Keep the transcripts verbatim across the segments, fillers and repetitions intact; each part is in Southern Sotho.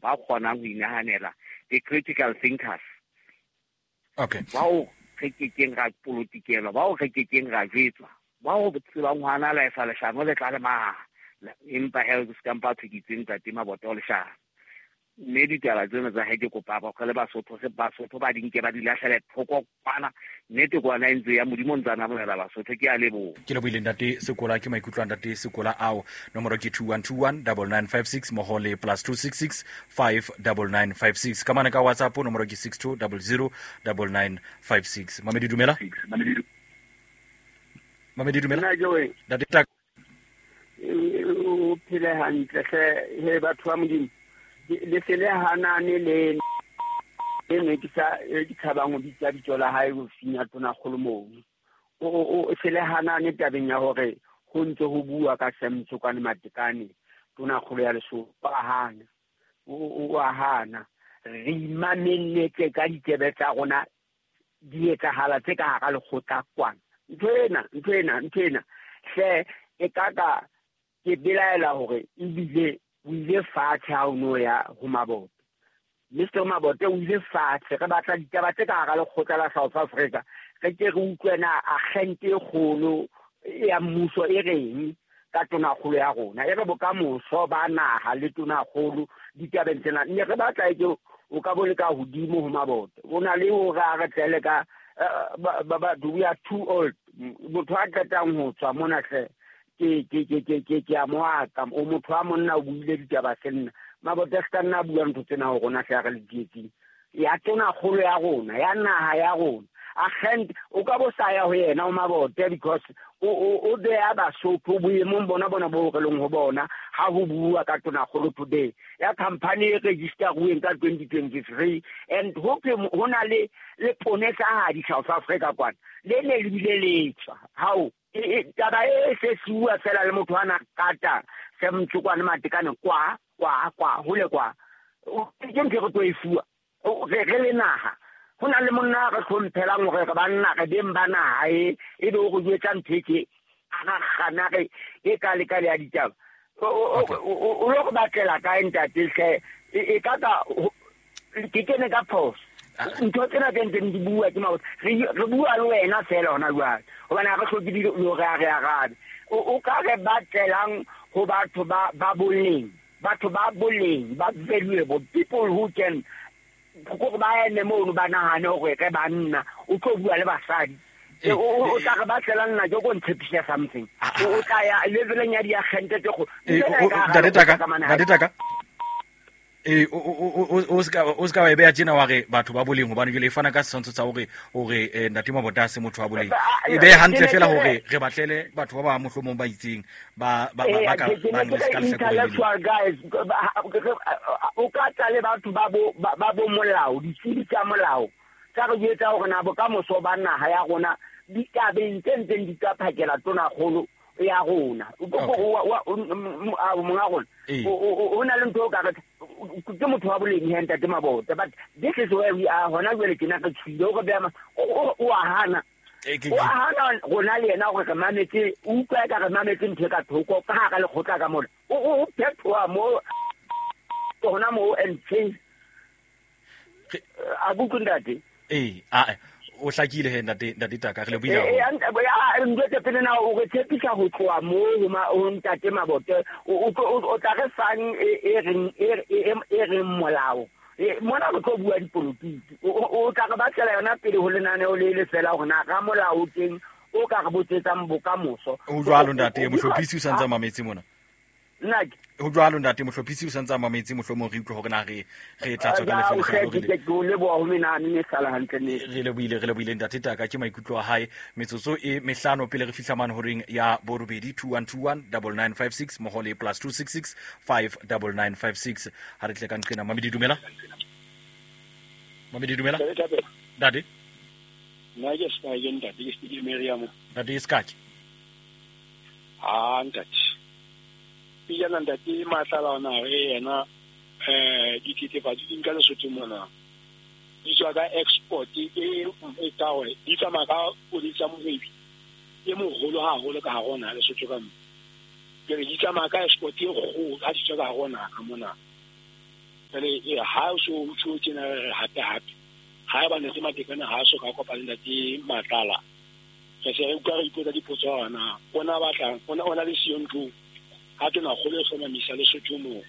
ba kgonang ho inahanela, the critical thinkers. Okay. Bao re kekeng ra polotikelwa, bao re kekeng ra jwetswa, bao tsebang ho analysa leshano le tla le maha. Empa he se ka mpa thukitseng ntate Mabote o leshano. Mme ditaba tsena tsa hae ke kopa ba le Basotho se Basotho ba di nke ba di lahlele thoko kwana. Nnete kwana e ntse ya Modimo ntse a namolela Basotho. Ke a leboha. Ke lebohile ntate Sekola, ke maikutlo a ntate Sekola ao. Nomoro ke two one two one double nine five six mmoho le plus two six six five double nine five six. Ka mane ka WhatsApp nomoro ke six two double zero double nine five six. Mamedi dumela. Mamedi dumela. Nna Joe. Ntate Tak. O phele hantle hle he batho ba Modimo. Le se le hanane le e ne ke sa ke tshabang ho bitsa bitso la hae ho finya tona kgolo mono. O o se le hanane tabeng ya hore ho ntse ho bua ka Sam Tsokane Matekane tona kgolo ya Lesotho. Ba hana. O o a hana. Re imamelletse ka ditsebe tsa rona di etsahala tse ka hara lekgotla kwana. Ntho ena, ntho ena, ntho ena. Hle e ka ka ke belaela hore ebile o ile fatshe ha o no ya ho Mabote. Mister Mabote o ile fatshe, re batla ditaba tse ka hara lekgotla la South Africa. Re ke re utlwe na agente e kgolo ya mmuso e reng ka tonakgolo ya rona. E re bokamoso ba naha le tonakgolo ditabeng tsena. Mme re batla e ke o ka bo le ka hodimo ho Mabote. O na le hore a re tlele ka ba ba we are too old. Motho a qetang ho tswa mona hle. Ke ke ke ke ke ke a moaka o motho a monna o buile ditaba senna. Mabote a ska nna bua ntho tsena ho rona hle re le dietseng. Ya tona kgolo ya rona, ya naha ya rona. Agent o ka bo sa ya ho yena o Mabote because o o o beya Basotho boemong bona bona bo re leng ho bona ha ho bua ka tona kgolo today. Ya company e register-uweng ka twenty twenty-three and ho ke ho na le le ponesa ha di South Africa kwana. Le ne le bile le tswa. Hao taba e se siuwa fela le motho ana kata se Mtsokwane Matekane kwa kwa kwa hole kwa ke ntho re tlo e fuwa re re le naha. Ho na le monna re hlomphelang hore re banna re beng ba naha e e be o re jwetsa ntho e ke a ra kgana re e ka le ka le ya ditaba. O lo go batlela kae ntate hle e ka ka ke kene ka phoso. Ntho tsena tse ntseng di bua ke Mabote. Re re bua le wena fela hona jwale. Hobane ha re hloke di lo re a re arabe. O ka re batlelang ho batho ba ba boleng, batho ba boleng, ba valuable people who can go ba eme mono ba nahane hore re banna o tlo bua le basadi. O tla re batlela nna ke go ntshepisa something. O tla ya leveleng ya diagente tse go. Ntate Taka, Ntate Taka. E o o o ska o ska wa e beya tjena wa re batho ba boleng hobane jwale e fana ka setshwantsho sa hore hore ntate Mabote a se motho wa boleng. E behe hantle fela hore re batlele batho ba ba mohlomong ba itseng ba ba ba ka ba le ska intellectual guys. O ka tla le batho ba bo ba bo molao, ditsebi tsa molao tsa re jwetsa hore na bokamoso ba naha ya rona ditabeng tse ntseng di ka phakela tona kgolo ya rona. O monga rona o na le ntho o ka re ke motho wa boleng he ntate Mabote, but this is where we are hona jwale ke na re tshwile o re beya o a hana. O a hana rona le yena hore re mametse, o utlwa ka re mametse ntho e ka thoko ka hara lekgotla ka mona. O phethoha mo hona mo and change a buku ntate. Eh a o hlakile he ntate ntate Taka re le buile. Eh eh ntse pele na o re tshepisa ho tloha mo ho ntate Mabote o o tla re fang e reng e reng molao. Mona re tlo bua dipolotiki. O tla re batlela yona pele ho lenaneo le le fela hore na ka molao teng o ka re botsetsang bokamoso. O jwalo ntate mohlophisi o santsa mametse mona. Nna ho jwalo ntate mohlophisi o santsa mametse mohlomong re utlwe hore na re re tla tswa ka lefelo le ke ke leboha ho menane ne sala hantle ne re lebohile re lebohile ntate Taka ke maikutlo a hae. Metsotso e mehlano pele re fihla mane horeng ya borobedi two one two one double nine five six mmoho le plus two six six five double nine five six. Ha re tle ka nqena. Mamedi dumela. Mamedi dumela. Ntate nna ke ska ke ntate ke ke Miriam. Ntate Skaki. Ah ntate pijana ntate Matlala ona re yena eh dithethefatsi di nka Lesotho mona di tswa ka export e e ka hore di tsamaya ka koloi tsa mohwebi e moholo haholo ka hare ho naha Lesotho ka mo. Ke re di tsamaya ka export e kgolo ha di tswa ka hare ho naha ka mona. Jwale ha o so o tjho tjena re hape hape ha eba Ntate Matekane ha so ka kopana le Ntate Matlala re se re utlwa re ipotsa dipotso hona ona batlang ona ona le siyo ntlo ha tona kgolo e hlomamisa Lesotho moo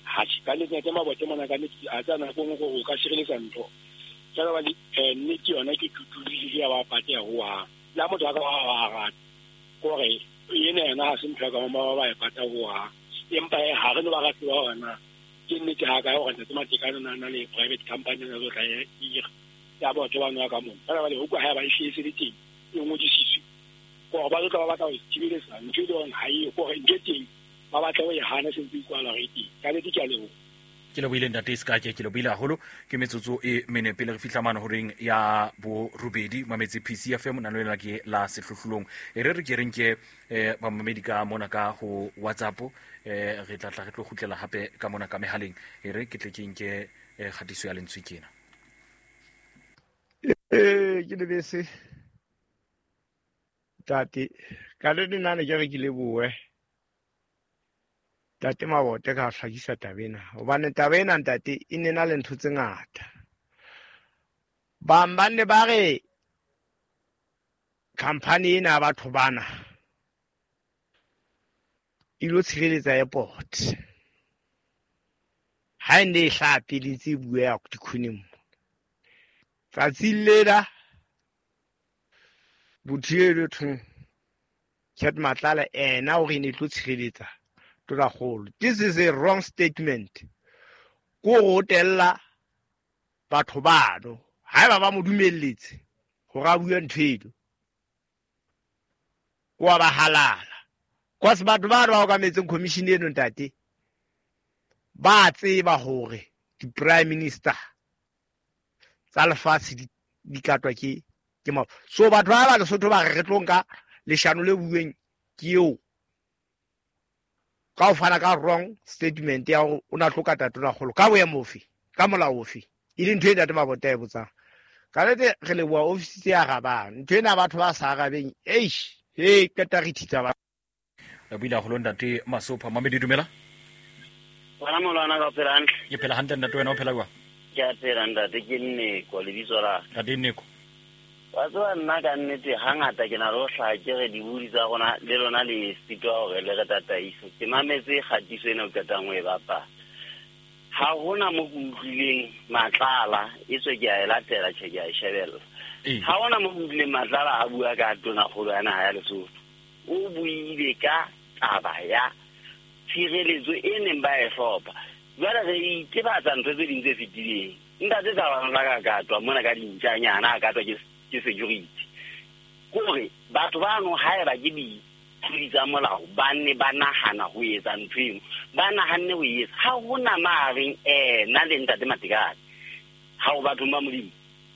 ha ka nnete Ntate Mabote mona ka nnete a tsana nako nngwe gore o ka sireletsa ntho jwale ba nnete yona ke tutulile ya ba pateha hohang le ha motho a ka wa rata kore ena yena ha se ntho ya ka ba ba e pata hohang empa ha re no ba rate ba hona ke nnete ha ka hore Ntate Matekane na na le private company na tlo tla ira ya batho ba nwa ka mona ba ba le ho kwa ha ba e hlese le teng e ngodisitswe gore ba tlo ba batla ho thibeletsa ntho e leng ha e gore ntho teng ba batla ho e hana sentse ikwala re teng ka nnete ke a leboha. Ke lebohile Ntate Sekake, ke lebohile haholo. Ke metsotso e mene pele re fihla mane horeng ya borobedi mametse P C F M nano lena ke la sehlohlolong. E re re ke re nke eh bamamedi ka mona ka ho WhatsApp eh re tla tla re tlo kgutlela hape ka mona ka mehaleng. E re ke tle ke nke kgatiso ya lentswe kena. Eh ke lebese Ntate ka le nna ne ke re ke lebohe Ntate Mabote ka hlakisa taba ena hobane taba ena ntate e ne na le ntho tse ngata. Bang ba ne ba re company ena ya batho bana e lo tshireletsa airport ha e ne e hlaha pele ntse e bueha dikhoneng. Tsatsing lena botho eno thong Cat Matlala ena o re ne tlo tshireletsa tonakgolo. This is a wrong statement. Ko go tella batho bano haeba ba mo dumelletse hore a bue ntho eno wa ba halala. Cause batho ba ba okametseng commission eno ntate ba tseba hore di prime minister tsa lefatshe di di katwa ke ke ma so batho ba ba Lesotho ba re re tlo nka leshano le bueng ke eo ka o fana ka wrong statement ya hore o na tlo kata tonakgolo ka boemo ofe ka molao ofe e le ntho e Ntate Mabote a e botsang. Ka nnete re leboha ofisi tse arabang ntho ena batho ba sa arabeng eish he qeta re thitsa ba re buile haholo Ntate Masopha. Mamedi dumela. Wena molwana ka phela hantle. Ke phela hantle ntate, wena o phela jwang? Ke a phela ntate, ke Nneko lebitso la. Ntate Nneko. Wa tseba nna ka nnete hangata ke na le ho hlaha ke re dibudi tsa rona le lona le sitwa hore le re tataise. Ke mametse kgatiso ena o qetang ho e bapala. Ha hona mo ke utlwileng Matlala, e tswe ke a e latela tjhe ke a e shebella. Ha hona mo ke utlwileng Matlala a bua ka tonakgolo ya naha ya Lesotho. O buile ka taba ya tshireletso e neng ba e hlopha. Jwale re itebatsa ntho tse ding tse fetileng. Ntate Thabang la ka katwa mona ka dintjanyana a katwa ke ke security. Kore batho bano haeba ke ditlodi tsa molao ba ne ba nahana ho etsa ntho eno, ba nahanne ho etsa. Ha hona mareng eh na le Ntate Matekane. Ha o batho ba Modimo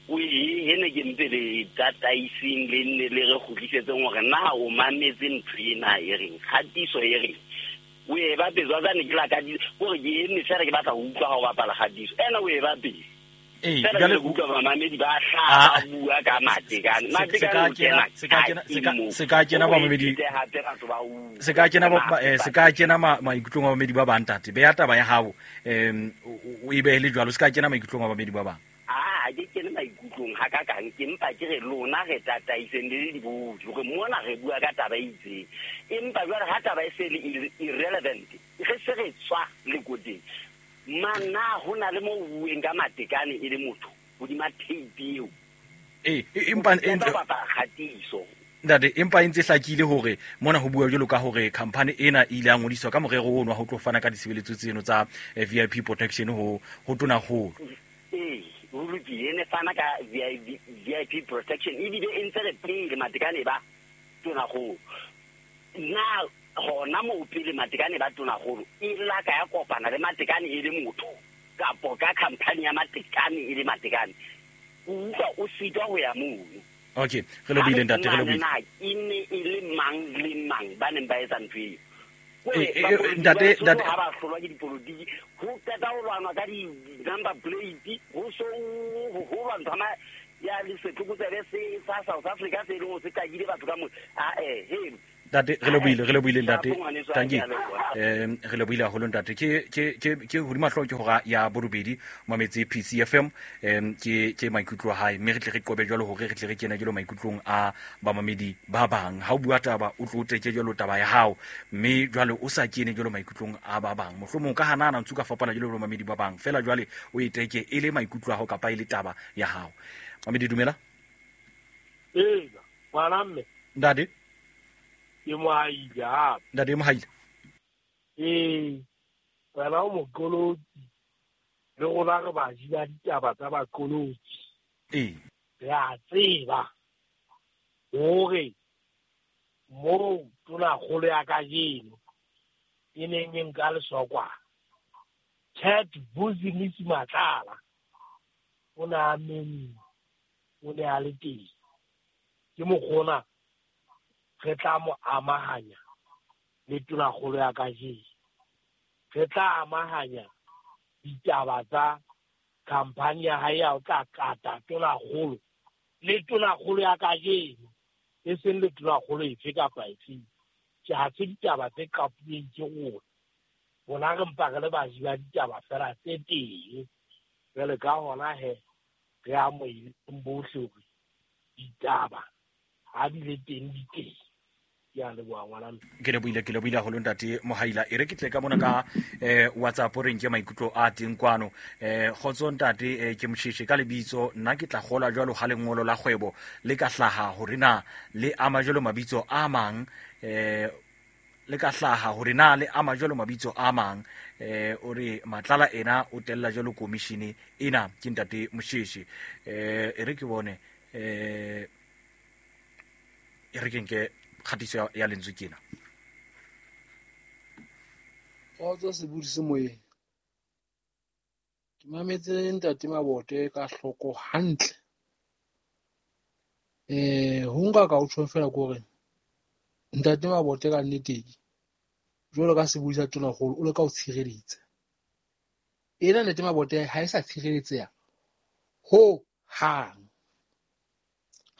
o e hene ke ntse le tataiseng le nne le re kgutlisetseng hore na o mametse ntho ena e reng kgatiso e reng o e bapetse wa tsane ke la ka kore ke eme fela ke batla ho utlwa ha o bapala kgatiso ena o e bapetse. Eh jale utlwa bamamedi ba hlaha bua ka Matekane. Matekane se ka kena se ka kena bamamedi se ka kena se ka kena maikutlong a bamamedi ba bang ntate. Beya taba ya hao em o e behe le jwalo, se ka kena maikutlong a bamamedi ba bang. Ah ke kene maikutlong ha ka kang ke mpa ke re lona re tataiseng le dibodi hore mona re bua ka taba e itseng. Empa jwale ha taba e se le irrelevant re se re tswa lekoteng. Mana ho na le mo bueng ka Matekane e le motho hodima tape eo. Eh empa kgatiso ntate empa e ntse hlakile hore mona ho bua jwalo ka hore company ena e ile ya ngodiswa ka morero ono wa ho tlo fana ka ditshebeletso tseno tsa V I P protection ho ho tonakgolo. Eh ho lokile ne fana ka V I P protection ebile e ntse re pele Matekane ba tonakgolo. Na hona mo pele Matekane ba tonakgolo e la ka ya kopana le Matekane e le motho kapo ka company ya Matekane e le Matekane o utlwa o sitwa ho ya mono. Okay re lebohile ntate, re lebohile. E ne e le mang le mang ba neng ba etsa ntho eo. Ntate ntate ha ba hlolwa ke dipolotiki ho qeta ho lwanwa ka di-number plate ho so ho lwantsha ma ya le setlokotsebe se sa South Africa se leng ho se qakile batho ka mo. Ah eh he Ntate re lebohile re lebohile ntate tanki eh re lebohile haholo ntate ke ke ke ke hodima hlooho ke hora ya borobedi mametse P C F M em ke ke maikutlo a hae mme re tle re qobe jwalo hore re tle re kene jwalo maikutlong a bamamedi ba bang ha o bua taba o tlo teke jwalo taba ya hao mme jwale o sa kene jwalo maikutlong a ba bang mohlomong ka hanana ntse ka fapana jwalo le bamamedi ba bang fela jwale o iteke e le maikutlo a hao kapa e le taba ya hao mamedi dumela ee ngwana mme ntate ke mohaile hape ntate mohaile ee wena o moqolotsi le rona re baji ba ditaba tsa baqolotsi ee re a tseba hore moo tonakgolo ya kajeno e neng e nka lesokwana Cat Vusi Matlala o ne a menne o ne a le teng ke mokgona re tla mo amahanya le tonakgolo ya kajeno re tla amahanya ditaba tsa khampani ya hae ya ho tla kata tonakgolo le tonakgolo ya kajeno e seng le tonakgolo efe kapa efe ke ha se ditaba tse qapuweng ke rona rona re mpa re le baji ba ditaba fela tse teng jwale ka hona he re amoheleng bohle hore ditaba ha di le teng di teng ke a leboha ngwana ke lebohile ke lebohile haholo ntate Mohaila e re ke tle ka mona ka eh WhatsApp re nke maikutlo a teng kwano eh kgotso ntate eh, ke Mosheshe ka lebitso nna ke tla kgola jwalo ha lengolo la kgwebo le ka hlaha hore na le ama jwalo mabitso a mang eh le ka hlaha hore na le ama jwalo mabitso a mang eh o re Matlala ena o tella jwalo commission ena ke ntate Mosheshe eh e re ke bone eh e re ke nke kgatiso ya lentswe kena kgotso sebudi se moyeng ke mametse ntate Mabote ka hloko hantle eh ho nka ka o tjho fela ke hore ntate Mabote ka nnete jwalo ka sebudi sa tonakgolo o leka ho tshireletsa ena ntate Mabote ha e sa tshireletseha ho hang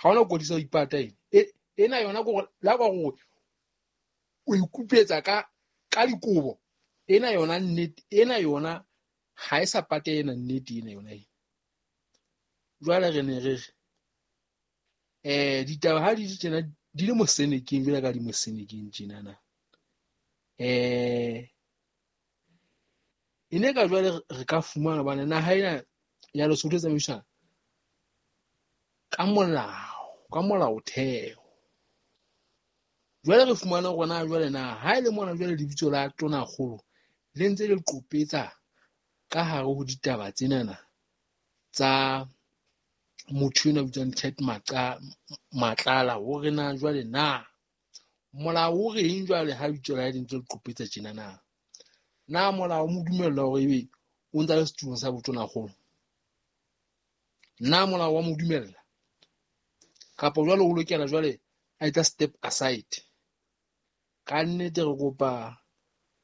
ha ona kodisa ho ipata ena ena yona go la go o ikupetsa ka ka dikobo ena yona nnete ena yona ha e sa pate ena nnete ena yona e jwale re ne re eh ditaba ha di tjena di le mosenekeng jwale ka di mosenekeng tjena na eh ene ka jwale re ka fumana bana naha ena ya Lesotho e tsamaiswa ka molao ka molaotheo jwale re fumana rona jwale na ha ile mona jwale lebitso la tonakgolo le ntse le qopetsa ka hare ho ditaba tsenana tsa motho ena bitswang Cat Maqa Matlala hore na jwale na molao o reng jwale ha lebitso la le ntse le qopetsa tjena na na molao mo dumella hore ebe o ntse le setulong sa botonakgolo na molao wa mo dumella kapa jwale o lokela jwale a etsa step aside ka nnete re kopa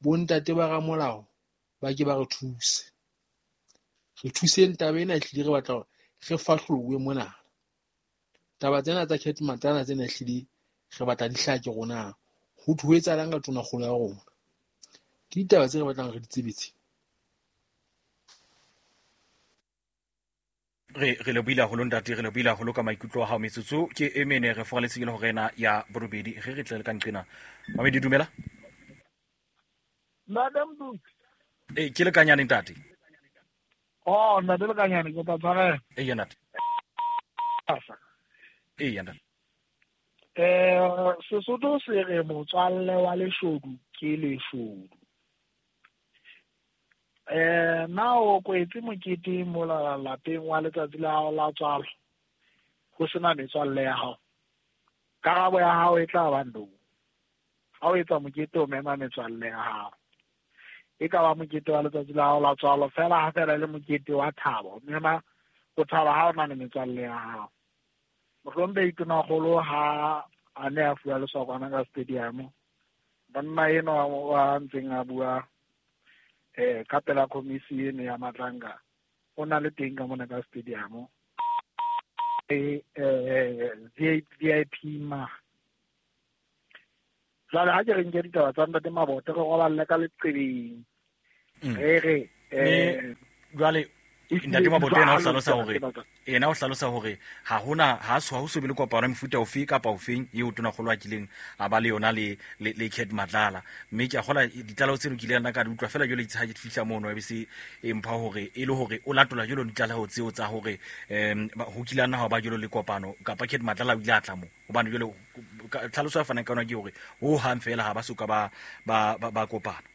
bontate ba ramolao ba ke ba re thuse re thuseng taba ena ehlile re batla hore re fahlolowe mona taba tsena tsa Cat Matlala tsena ehlile re batla di hlake rona ho thwe ho etsahalang ka tonakgolo ya rona ke ditaba tse re batlang re di tsebetse re re lebohile haholo ntate re lebohile haholo ka maikutlo a hao metsotso ke e mene re foraletse ke le hore ena ya borobedi re re tle le ka nqena mamedi dumela Madam Duke eh ke le kanyane ntate oh ntate le kanyane ke tla tshwarela eh ya ntate eh ya ntate eh Sesotho se re motswalle wa leshodu ke leshodu eh na o kwetse mokete mola lapeng wa letsatsi la hao la tswalo ho sena metswalle ya hao karabo ya hao e tla ba no ha o etsa mokete o mema metswalle ya hao e ka ba mokete wa letsatsi la hao la tswalo fela ha fela le mokete wa thabo mema o thaba ha o na le metswalle ya hao mohlombe itonakgolo ha a ne a fuwa lesokwana ka stadium monna enwa wa ntseng a bua eh ka pela komisi eno ya Matlanga o na le teng ka mona ka stadium e eh V I P ma Jwale ha ke re nke ditaba tsa Ntate Mabote re roballe ka leqebeng. Re re eh jwale Ntate Mabote ena o hlalosa hore ena o hlalosa hore ha hona ha so ha ho so be le kopano mefuta ofe kapa ofeng eo tonakgolo a kileng a ba le yona le le le Cat Matlala. Mme ke a kgola ditlaleho tseno ke ile nna ka di utlwa fela jwale itse ha ke fihla mono e be se e mpha hore e le hore o latola jwalo ditlaleho tseo tsa hore em ho kile nna ha ba jwalo le kopano kapa Cat Matlala o ile a tla mo hobane jwale tlhaloso ya fanang ka yona ke hore ho hang fela ha ba soka ba ba ba kopana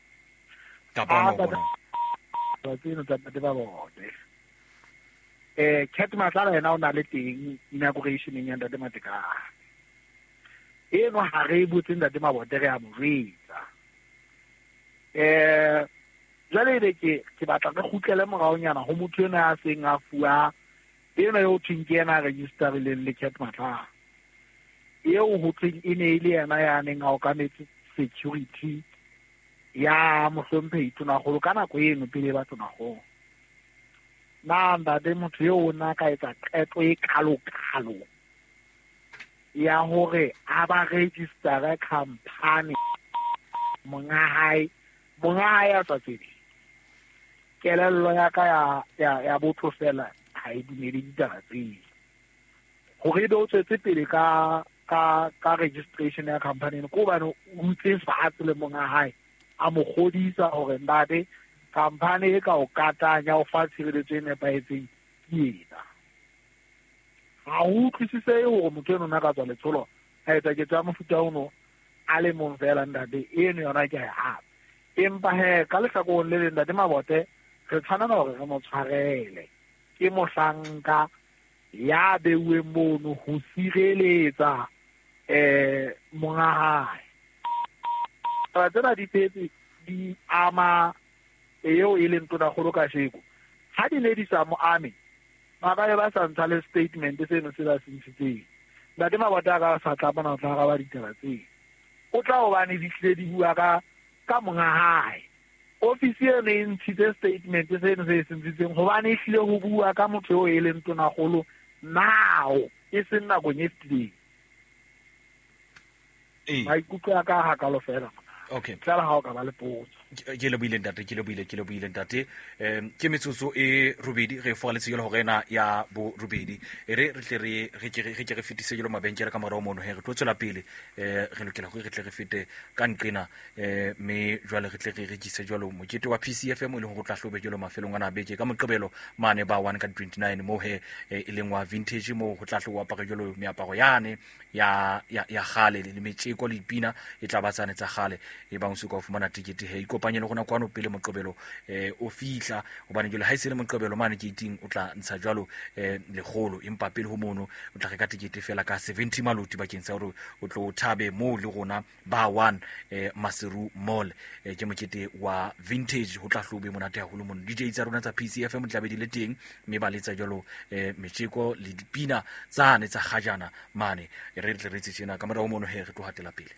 kapa no bona tseno tsa Ntate Mabote. Eh Cat Matlala yena o na le teng inaugurationeng ya Ntate Matekane. Eno ha re botse Ntate Mabote re a mo jwetsa. Eh jwale ebe ke ke batla re kgutlele moraonyana ho motho ena a seng a fuwa eno eo thweng ke yena a registerileng le Cat Matlala. Eo ho thweng e ne e le yena ya neng a okametse security ya mohlomphehi tonakgolo ka nako eno pele ba tonakgolo. Na ntate motho eo o na ka etsa qeto e kalo-kalo ya hore a ba registera company monga hae monga hae a sa tsebe. Kelello ya ka ya ya ya botho fela ha e dumele ditaba tseo. Hore ebe o tswetse pele ka ka ka registration ya company eno ke hobane o ntse fatshe le monga hae a mo kgodisa hore ntate company e ka o katanya o fa tshireletso e nepahetseng ke ena. Ha o utlwisisehe hore motho eno na ka tswa letsholo a etsa ketso ya mofuta ono a le mong fela ntate eno yona ke a e hapa. Empa he ka lehlakoreng le leng Ntate Mabote re tshwanela hore re mo tshwarele. Ke mohlanka ya beuweng mono ho sireletsa eh monga hae. Taba tsena di phetse di ama eo e leng tonakgolo kasheko. Ha di ne di sa mo ame ba ka ba sa ntsha le statement seno se ba se ntshitseng. Ntate Mabote a ka sa tla bona o tla araba ditaba tseo. O tla hobane di hlile di bua ka ka monga hae. Ofisi eno e ntshitse statement seno se se ntshitseng hobane e hlile ho bua ka motho eo e leng tonakgolo now e seng nakong e fetileng. Maikutlo a ka hakalo fela. Okay. Tlala ha o ka ba le potso. Ke le buile ntate, ke le buile, ke le buile ntate. Em ke metsotso e robedi re foaletse jalo hore ena ya bo robedi. E re re tle re re ke re ke re fetise jalo mabenkele ka morao mono he re tlo tswela pele eh re lokela hore re tle re fete ka nqena eh me jwale re tle re rekise jalo mokete wa P C F M e leng hore o tla hlobe jalo mafelong ana beke ka moqebelo mane ba one ka twenty-nine mo he e leng wa vintage mo ho tla hlo apare jalo meaparo yane ya ya ya gale le metjeko le dipina e tla ba tsane tsa gale e bang se ka fumana ticket he ikopanye le rona kwano pele moqebelo eh o fihla hobane jwale ha e se le moqebelo mane ke iting o tla ntsha jwalo eh lekgolo empa pele ho mono o tla reka ticket fela ka seventy maloti bakeng sa hore o tlo thabe mo le rona ba one eh Maseru Mall eh ke mokete wa vintage ho tla hlobe monate haholo mono D J tsa rona tsa P C F M tla be di le teng mme ba letsa jwalo eh metjeko le dipina tsane tsa kgajana mane re tle re tsena ka morao mono he re tlo hatela pele.